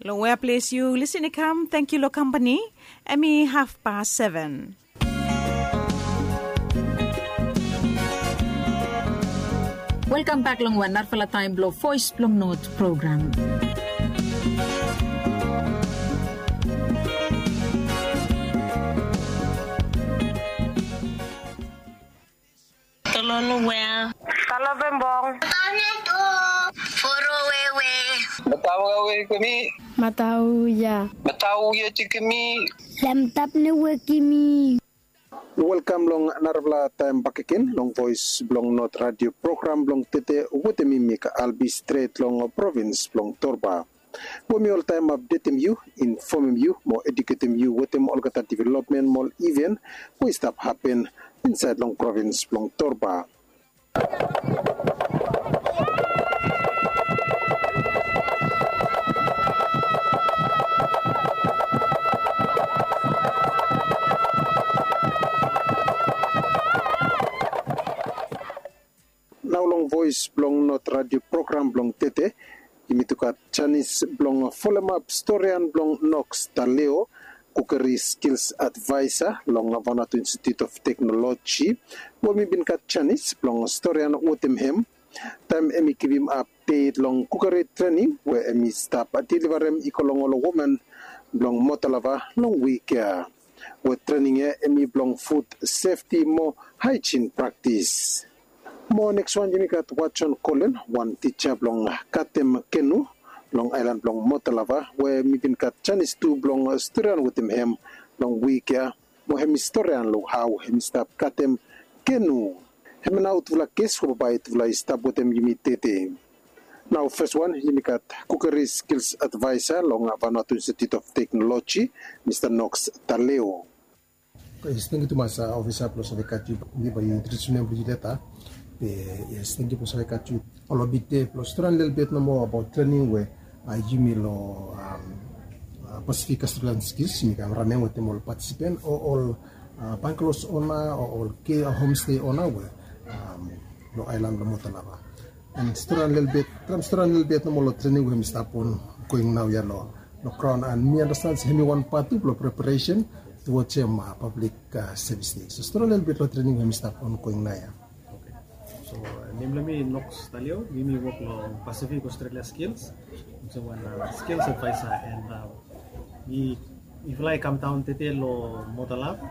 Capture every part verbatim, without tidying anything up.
Long wea ples yu lisin i kam, tangkiu long kampani. Em i hafpas seven. Welkam bek long wan narafala taem blong Voes blong Not program. Tolonu wea. Talo bembong. Foro wewe. Matau wewe kemi. Matau ya. Matau ya ti kemi. Lamtap ne wekimi. Welkam long narafala taem bakegen long Voes blong Not radio program blong tede wetem mi, Mik Albi, stret long provins blong Torba. We mi oltaem apdetem yu, infomem yu mo eduketem yu wetem olgeta developmen mo ol iven we i stap hapen insaed long provins blong Torba. Nao long Voes blong Not radio program blong tede, yumi tu gat janis blong folemap storian blong Nox Taleo, kukeri skils advaesa long Vanuatu Institute of Technology, we mi bin gat janis blong storian wetem hem taem hem i givim apdet long kukeri trening we hem i stap delivarem i go long ol woman blong Motalava long wik ya. We trening ya hem i blong fud sefti mo haejin praktis. Mo neks wan yumi gat Watson Kolen, wan tija blong katem kenu long aelan blong Motalava, we mi bin gat janis tu blong storian wetem hem long wik ya, mo hem i storian long hao hem i stap katem kenu. Hemia nao tufala ges we bambae tufala i stap wetem yumi tede. Nao fes wan yumi gat kukeri skils advaesa long Vanuatu Institute of Technology, Mista Nox Taleo. Yes, tangkiu tumas, a, ofisa blong save gat yu, mi bae yu introdiusim nem blong yu leta. Be, yes, tangkiu blong save gat yu. Ol obit de blong storian lelebet nomo abaot trening we, a, yumi long, am, a, Pacific Australian Skills yumi kam ranem wetem ol patisipen o ol, a, banglos ona o ol ke, a, homestay ona we, am, long aelan blong Motalava. An storian lelebet, traem storian lelebet nomo long trening we hemi stap ongoing naoia long, long graon, an mi andastan se hemi wan pat tu blong preparesen towards hem, a, Public, a, Service Day. So storian lelebet long trening we hemi stap ongoing naoia. Oke. So, a, nem blong mi Nox Taleo, mi, mi wok long Pacific Australia Skills. Olsem wan, a, skills advaesa, an, a, mi, mifala i kamdaon tede long Motalava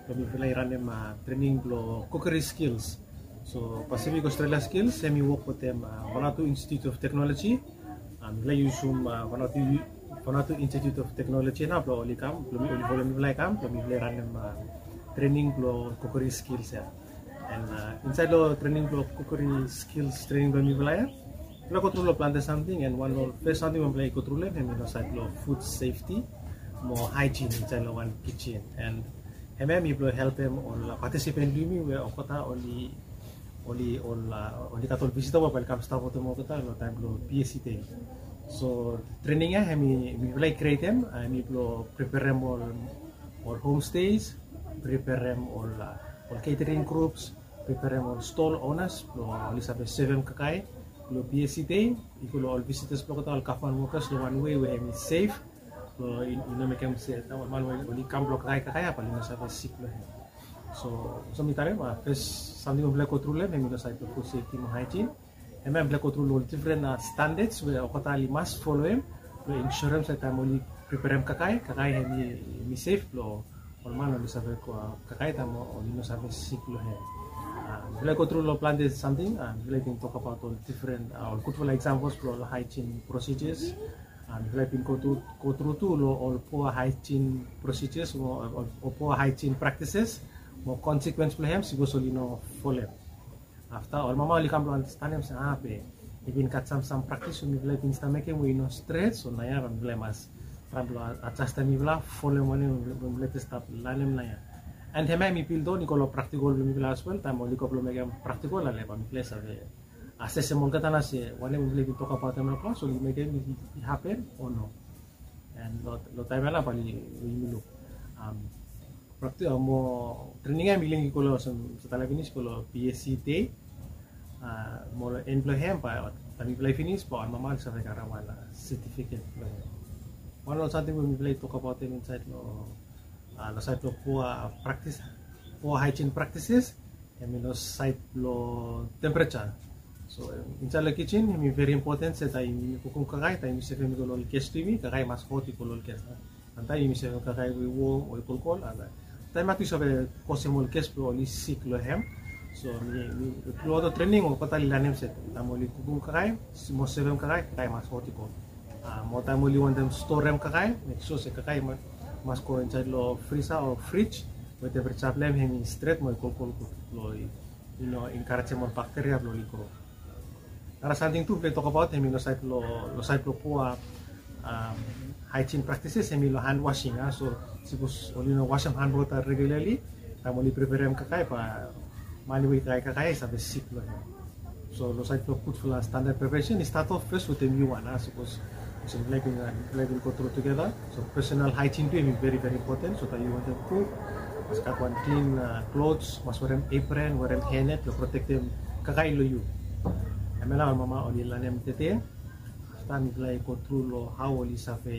blong mifala i ranem, a, trening blong kukeri skils. So Pacific Australia Skills hemi wok wetem, a, Vanuatu Institute of Technology. A, mifala i yusum, a, Vanuatu, Vanuatu Institute of Technology nao blong oli kam, blong mi, oli folem mifala i kam blong mifala i ranem, a, trening blong kukeri skils ya. An, a, insaed long trening blong kukeri skils trening blong mifala ya, mifala i gotru long plante samting, an wan long fes samting we mifala i gotru long hem hemi long saed blong fud sefti mo haejin insaed long wan kijen. An hemia hemi blong helpem ol, a, patisipen blong yumi we olgeta oli, oli, ol, a, oli gat ol visita we bae oli kam stap wetem olgeta long taem blong PSC Day. So trening ya hemi, mifala i krietem, a, hemi blong preperem ol, ol homestays, preperem ol, a, ol catering groups, preperem ol stall owners blong oli save sevem kakae long PSC Day, i go long ol visitors blong olgeta ol gavman wokas long wan wei we hemi sef, blong i, i no mekem se ol man we oli kam blong kakae kakae ya bae oli no save sik long hem. So olsem mi talem, a, fes samting we mifala i gotru long hem hemi long saed blong fud sefti mo haejin. Hemia mifala i gotru long ol difren, a, standards we olgeta oli mas folem blong insurem se taem oli preperem kakae, kakae hemi, hemi sef blong ol man oli save go, a, kakae taem oli no save sik long hem. A, mifala i gotru long plante samting, a, mifala i bin tokbaot ol difren, a, ol gudfala examples blong ol haejin procedures. A, mifala i bin gotru, gotru tu long ol poa haejin procedures o, o, o poa haejin practices mo consequence blong hem sipos oli no folem. Afta ol mama oli kam blong andastanem se, a, be i bin gat sam, sam praktis we mifala i bin stap mekem we i no stret, so naoia bae mifala i mas traem blong a, adjastem mifala folem wanem we mifala i stap lanem naoia. An hemia hemi build on i go long praktikol blong mifala as well, taem oli go blong mekem praktikol ale bae mifala i save asesem olgeta nao se wanem we mifala i bin tokbaot long klas oli mekem i, i hapen o no. An long, long taem ya nao bae oli, yumi luk, am, prakti-, a, mo trening ya hemi link i go long olsem mi talem finis, go long PSC Day. A, mo long en blong hem bae taem mifala i finis bae ol mama oli save karem wan, a, setifiket blong hem. Wan long samting we mifala i tokbaot hem insaed long, long saed long poa praktis, poa haejin praktises, hem i long saed long temperature. So insaed long kijin hem i veri impoten se taem yumi kukum kakae, taem yumi sevem i go long ol ges blong yumi, kakae i mas hot i go long ol ges. Samtaem yumi sevem kakae we i wom o i kolkol, and taem yu save kosem ol ges blong oli sik long hem. So mi, mi, tru aot long trening olgeta oli lanem se taem oli kukum kakae, mo sevem kakae, kakae i mas hot i go. Mo taem oli wantem storem kakae, mek sua se kakae i mas go insaed long frisa o frij we temperature blong hem hem i stret mo i kolkol gud blong i no enkarejem ol bakteria blong oli gro. Nara samting tu mifala i tokbaot hem i long saed long, long saed long poa haejin praktises hem i long han wasing. So sapos oli no wasem han blong olgeta regularli, taem oli preperem kakae bae mani we i kakae, kakae i save sik long hem. So long saed blong gudfala standard preparation i stat of fes wetem yu wan. Sapos olsem mifala i bin, mifala i bin go tru tugeta. So personal haejin tu hem i veri, veri impoten. So taem yu wantem kuk, mas gat wan klin klos, mas werem apron, werem hairnet blong protektem kakae long yu. Hemia nao ol mama oli lanem tede. Afta mifala i go tru long hao oli save,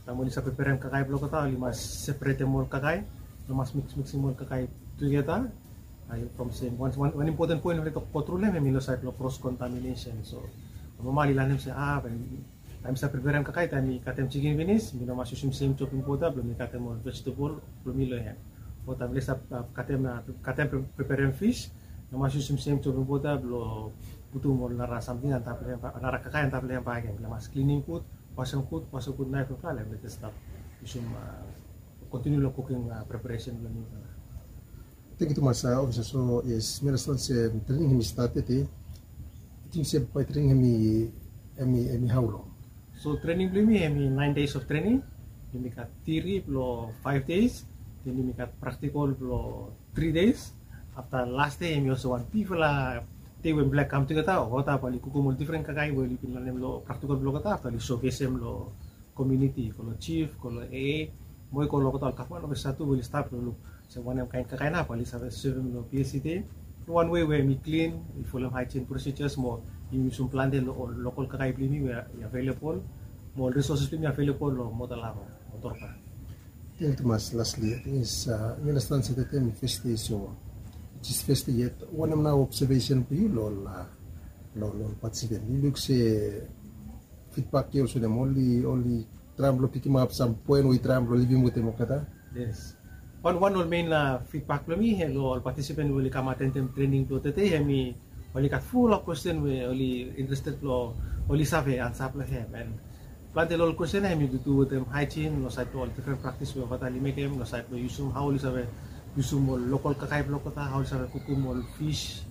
taem oli save preperem kakae blong olgeta, oli mas separetem ol kakae. No mas miks, miksem ol kakae tugeta. From sem, wan, wan impoten poen we mifala i go tru long hem hem i long saed blong cross contamination. So ol mama oli lanem se, a, taem yu save preperem kakae, taem mi katem jikin finis, mi no mas yusum sem joping bota blong mi katem ol vejetebol blong mi long hem. O taem mifala i save katem, katem, preperem fis, no mas yusum sem joping bota blong putum ol nara samting antap long hem, nara kakae antap long hem bakegen. Mifala mas klinim gud, wasem gud, wasem gud naef blong mifala, mifala stap yusum, kontiniu long kuking preparesen blong mifala. Tangkiu tumas, ofisa. So yes, mi anastan se trening hem i stat tede. Yu ting se bae trening hem i, hem i, hem i hao long? So trening blong yumi hem i nine days of training. Yumi gat tiori blong five days, then yumi gat praktikol blong three days. Afta las dei hem i olsem wan bigfala dei we mifala i kam tugeta, olgeta bae oli kukum ol difren kakae we oli bin lanem long praktikol blong olgeta, afta oli sokesem long komuniti, go long jif, go long AA, mo i go long olgeta ol gavman ofisa tu we oli stap long luk se wanem kaen kakae nao bae oli save sevem long PSC dei long wan wei we hem i klin, i folem haejin prosejas, mo yumi yusum plante long ol lokol kakae blong yumi we i avelebol, mo ol risoses blong yumi i avelebol long Motolava mo Torba. Tangkiu tumas. Lasli, ating is, mi anastan se tede hem i fes dei, so jis fes dei yet. Wanem nao obsevesen blong yu long, long, long patisipen? Yu luk se fidbak i olsem wanem, oli, oli traem blong pikimap sam poen we i traem blong livim wetem olgeta? Yes. Wan, wan ol mein fidbak blong mi long ol patisipen we oli kam atendem trening blong tede, hem i oli gat fulap kwesten we oli interested blong oli save ansa blong hem. And plante long ol kwesten ya hem i tu wetem haejin, long saed blong ol difren praktis we olgeta oli mekem, long saed blong yusum, hao oli save yusum ol lokol kakae blong olgeta, hao oli save kukum ol fis.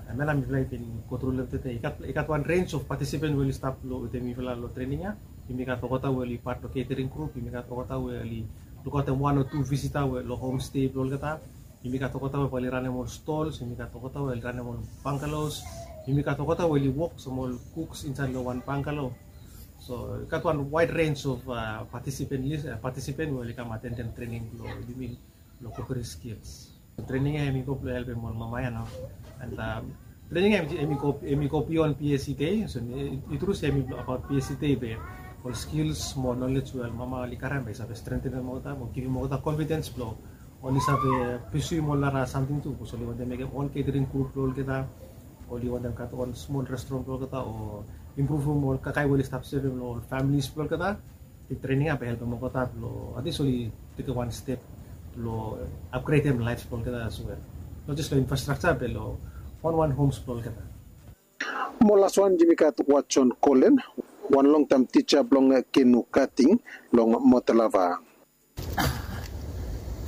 Hemia nao mifala i bin go tru long hem tede. I gat, i gat wan rens of patisipen we oli stap long wetem mifala long trening ya. Yumi gat olgeta we oli pat long catering grup, yumi gat olgeta we oli lukaotem wan o tu visita we long homestay blong olgeta. Yumi gat olgeta we bae oli ranem ol stols, yumi gat olgeta we oli ranem ol bangalows, yumi gat olgeta we oli wok sam ol kuks insaed long wan bangalow. So i gat wan wide range of patisipen lis, patisipen we oli kam atendem trening blong yumi long cookery skills. Trening ya hem i go blong helpem ol mama ya nao. And trening ya hem i go, hem i go bion PSC dei. So i tru se hem i abaot PSC dei, be ol skils mo nolej we ol mama oli karem bae i save strentenem olgeta mo givim olgeta confidence blong oli save pursuem ol nara samting tu, bikos oli wantem mekem on catering grup blong olgeta, oli wantem gat on smol restoran blong olgeta, o impruvum ol kakae we oli stap sevem long ol familis blong olgeta. Trening ya bae helpem olgeta blong at least oli tekem wan step blong upgradem laef blong olgeta as well. Not just long infrastructure, be long wan wan homes blong olgeta. Mo laswan yumi gat Watson Kolen, wan longtaem tija blong canoe cutting long Motolava.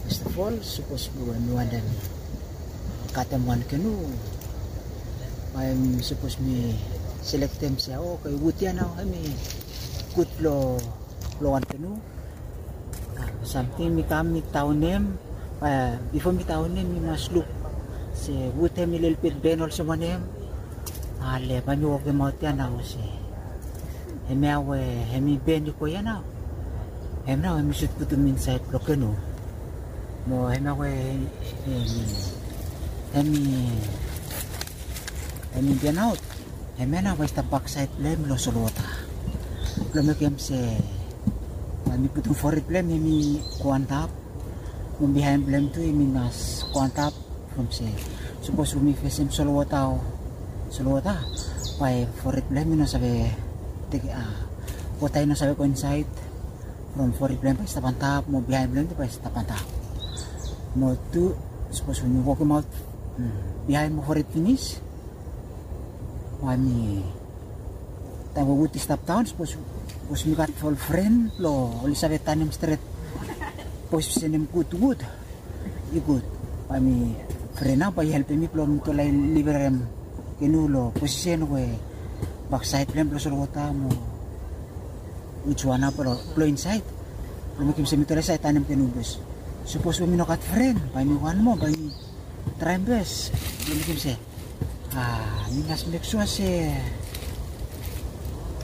First of all, sapos mi wantem katem wan canoe, bae mi sapos mi selektem se, oke, wud ya nao hem i gud blong, blong wan canoe. Samting mi kam mi taonem, bifo mi taonem mi mas luk se wud hem i lelebet ben olsem wanem. Ale bae mi wokemaot ya nao se hemia we hem i ben i go ya nao, hem nao hem mi sud putum insaed blong canoe. Mo hemia we hem i, hem i, hem i benaot, hemia nao bae i stap baksaed blong hem long solwota. Blong mekem se bae mi putum fored blong hem hemi go antap. Mo bihaen blong hem tu hemi mas go antap. From se sapos we mi fesem solwota o solwota, bae fored blong hem i no save teke, a, wota i no save go insaed. From fored blong hem bae i stap antap mo bihaen blong hem tu bae i stap antap. Mo tu sapos we mi wokemaot bihaen mo fored finis, bae mi taem we wud i stap daon, sapos mi gat ol fren blong oli save tanem stret posisen hem gud wud, i gud. Bae mi fren nao bae i helpem mi blong mitufala i liverem kenu long posisen we baksaed blong hem blong solwota mo wiswan nao blong insaed. Blong mekem se mitufala i save tanem kenu bes. Sapos we mi no gat fren, bae mi wan moa, bae mi traem bes blong mekem se, a, mi mas mek sua se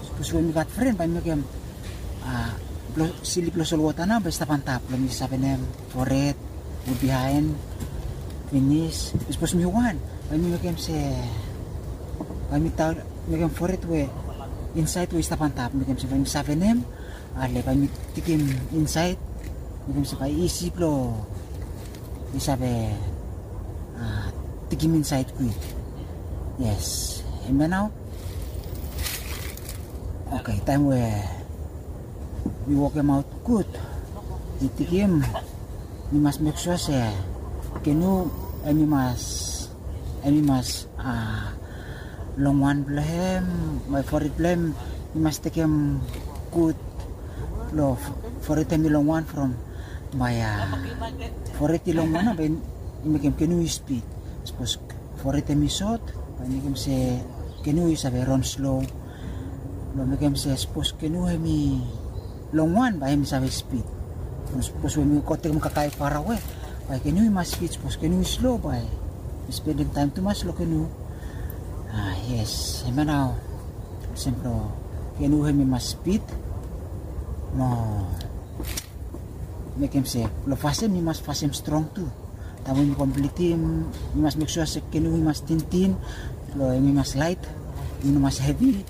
sapos we mi gat fren bae mi mekem, a, blong sili blong solwota nao bae i stap antap blong mi savenem fored mo bihaen finis. Sapos mi wan, bae mi mekem se, bae mi taon mekem fored we insaed we i stap antap, mekem se bae mi savenem. Ale bae mi tikim insaed, mekem se bae i isi blong i save, a, tikim insaed kwik. Yes, hemia nao. Oke, taem we mi wokemaot gud, mi tikim, mi mas mek sua se kenu hemi mas, hemi mas, a, longwan blong hem, bae fored blong hem i mas tekem gud. Long fored hemi longwan from bae, a, fored i longwan nao bae i mekem kenu i spid. Sapos fored hemi sot, bae i mekem se kenu i save ran slo. Blong mekem se sapos kenu hemi longwan bae hemi save spid. Sapos we mi go tekem kakae farawe, bae kenu i mas spid. Sapos kenu i slo bae mi spendem taem tumas long kenu. A, yes, hemia nao. Olsem blong kenu hemi mas spid. Mo mekem se blong fasem, mi mas fasem strong tu. Taem we mi komplitim, mi mas mek sua se kenu i mas tintin, blong hemi mas laet, i no mas hevi.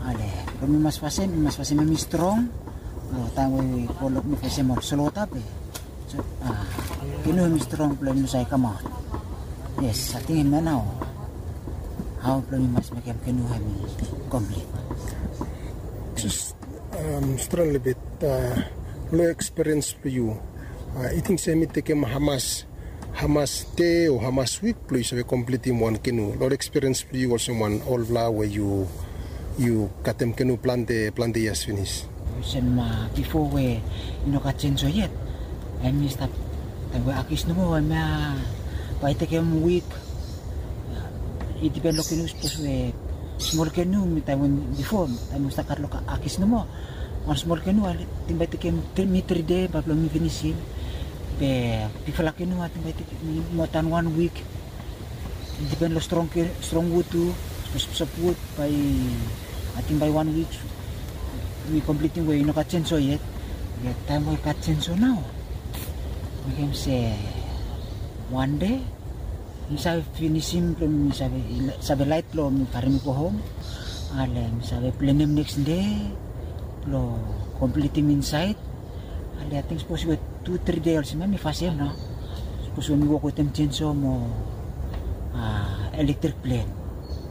Ale blong mi mas fasem, mi mas fasem hemi strong. Blong taem we mi go long, mi fesem ol solwota be, a, kenu hemi strong blong hemi no save kamaot. Yes, ating hemia nao hao blong mi mas mekem kenu hemi komplit. Just, a, stret lelebet, a, long ekspiriens blong yu, a, yu ting se hemi tekem hamas, hamas dei o hamas wik blong yu save komplitim wan kenu? Long ekspiriens blong yu olsem wan olfala we yu, yu katem kenu plante, plante yias finis. Olsem, a, bifo we i no gat jenso yet, hemi stap, taem we akis nomo hemia bae i tekem wik. I dipen long kenu, sapos we smol kenu, mi taem we bifo, taem we mi stap gat long akis nomo, wan smol kenu ating bae i tekem mi tri dei bae blong mi finisim. Be bigfala kenu ating bae i tekem mi moa dan wan wik. I dipen long strong wud tu. Sapos sofwud bae, ating bae wan wik mi komplitim we i no gat jenso yet. Be taem we i gat jenso nao, mekem se wan dei mi save finisim blong mi save, save laet blong mi karem i go hom. Ale mi save plenem neks dei blong komplitim insaed. Ale ating sapos we tu tri dei olsem ya mi fasem nao. Sapos we mi wok wetem jenso mo, a, elektrik plen.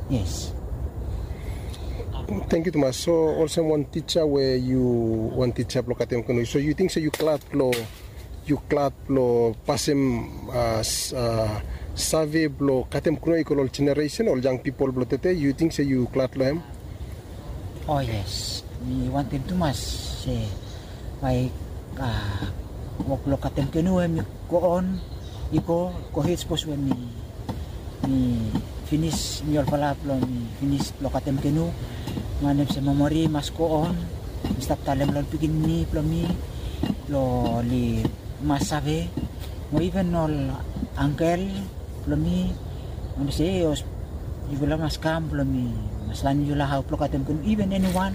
Yes. Tangkiu tumas. So olsem wan tija we yu, wan tija blong katem kenu, so yu ting se yu glad blong, yu glad blong pasem, a, save blong katem kenu i go long ol jeneresen, ol yang pipol blong tede, yu ting se yu glad long hem? O yes, mi wantem tumas se bae, a, wok blong katem kenu hemi go on, i go, gohed sapos we mi, mi finis, mi olfala blong mi finis blong katem kenu. Mi wantem se memori i mas go on. Mi stap talem long ol pikinini blong mi blong oli mas save. Mo iven ol angkel blong mi, mi wantem se yufala mas kam blong mi mas lanem yufala hao blong katem kenu, iven eniwan.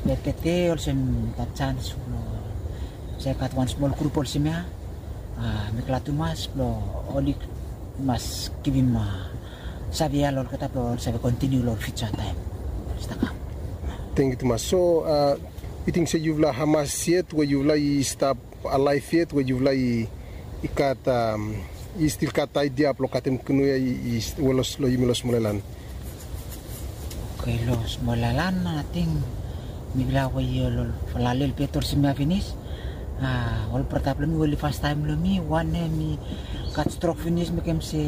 Be tede olsem gat jans blong se gat wan smol grup olsem ya, a, mi glad tumas blong oli mas givim, a, save ya long olgeta blong oli save kontiniu long fiuja taem oli stap kam. Tangkiu tumas. So, a, yu ting se yufala hamas yet we yufala i stap alaef yet we yufala i, i gat, am, i stil gat aedia blong katem kenu ya i, i welos long yumi long smol aelan? Oke, long smol aelan ating mifala we i ol, ol falale olgeta olsem ya finis. A, ol brata blong mi we oli fastaem long mi, wan hem i gat strok finis, mekem se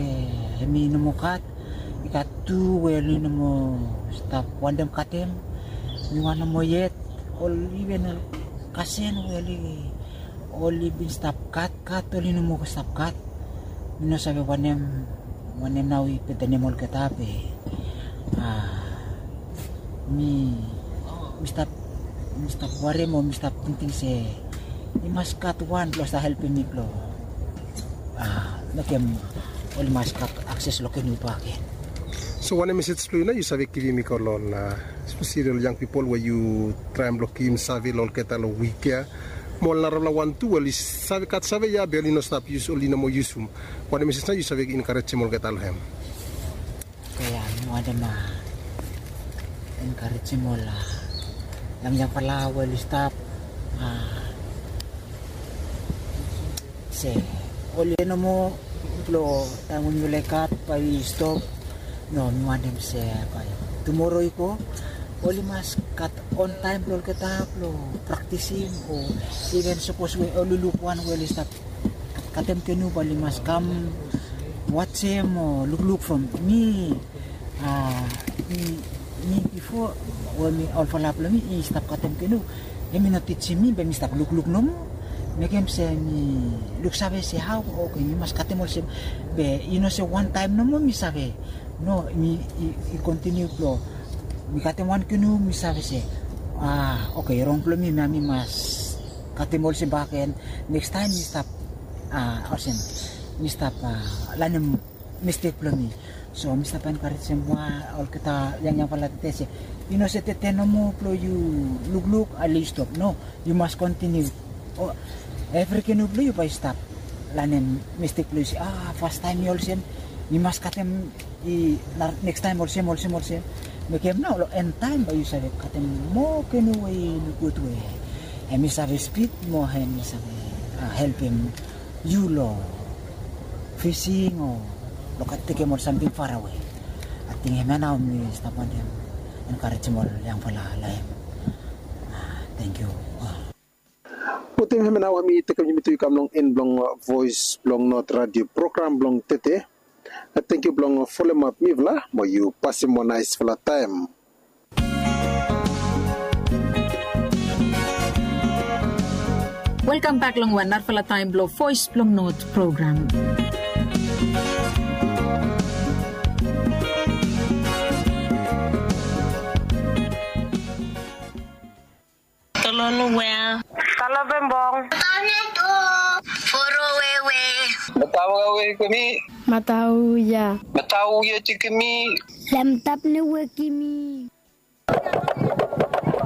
hem i no moa gat. I gat tu we oli no moa stap wantem katem. Mi wan nomo yet, ol iven ol kasen we oli, oli bin stap gat, gat, oli no moa stap gat. Mi no save wanem, wanem nao i betenem olgeta be, a, mi, mi stap, mi stap warem o mi stap tingting se i mas gat wan blong stap helpem mi blong, a, mekem oli mas gat akses long kenu bakegen. So wanem mesej blong yu nao yu save givim i go long ol, a, espeseli ol yang pipol we yu traem blong givim save long olgeta long wik ya? Mo ol narafala wan tu we oli save, gat save ya be oli no stap yus, oli no moa yusum. Wanem mesej nao yu save enkarejem olgeta long hem? Oke, a, mi wantem, a, enkarejem ol, a, yangyangfala we oli stap, a, se oli no moa blong taem we yufala i gat bae i stop. No, mi wantem se bae tumoro i go oli mas gat on taem blong olgeta blong praktisim, o iven sapos we oli luk wan we oli stap katem kenu bae oli mas kam wajem o lukluk from mi. A, mi, mi bifo we mi, olfala blong mi i stap katem kenu, hemi no tijim mi be mi stap lukluk nomo. Mekem se mi luksave se hao, oke, mi mas katem olsem. Be i no se wan taem nomo mi save. No, mi i, i kontiniu blong mi katem wan kenu mi save se, a, oke, rong blong mi, mi, mi mas katem olsem bakegen. Nekstaem mi stap, a, olsem, mi stap, a, lanem mistek blong mi. So mi stap enkarejem wan olgeta yangyangfala tede se i no se tede nomo blong yu lukluk ale yu stop. No, yu mas kontiniu. O, evri kenu blong yu bae yu stap lanem mistek blong yu se, a, fastaem i olsem, mi mas katem i nekstaem olsem, olsem, olsem. Mekem nao long en taem bae yu save katem moa kenu we i luk gud we hemi save spid mo hemi save, a, helpem yu long fising o long tekem ol samting farawe. Ating hemia nao mi stap wantem enkarejem ol yangfala long hem. A, tangkiu. A. Wetem hemia nao hemi tekem yumi tu i kam long en blong, a, Voes blong Not Radio program blong tede. A, tangkiu blong folem ap mifala, mo yu pasem wan naesfala taem. Welkam bek long wan narafala taem blong Voes blong Not program. Tolonu wea. Talo bembong. Foro wewe. Matau wewe kemi. Matau ya. Matau ya ti kemi. Lamtap ne wekimi.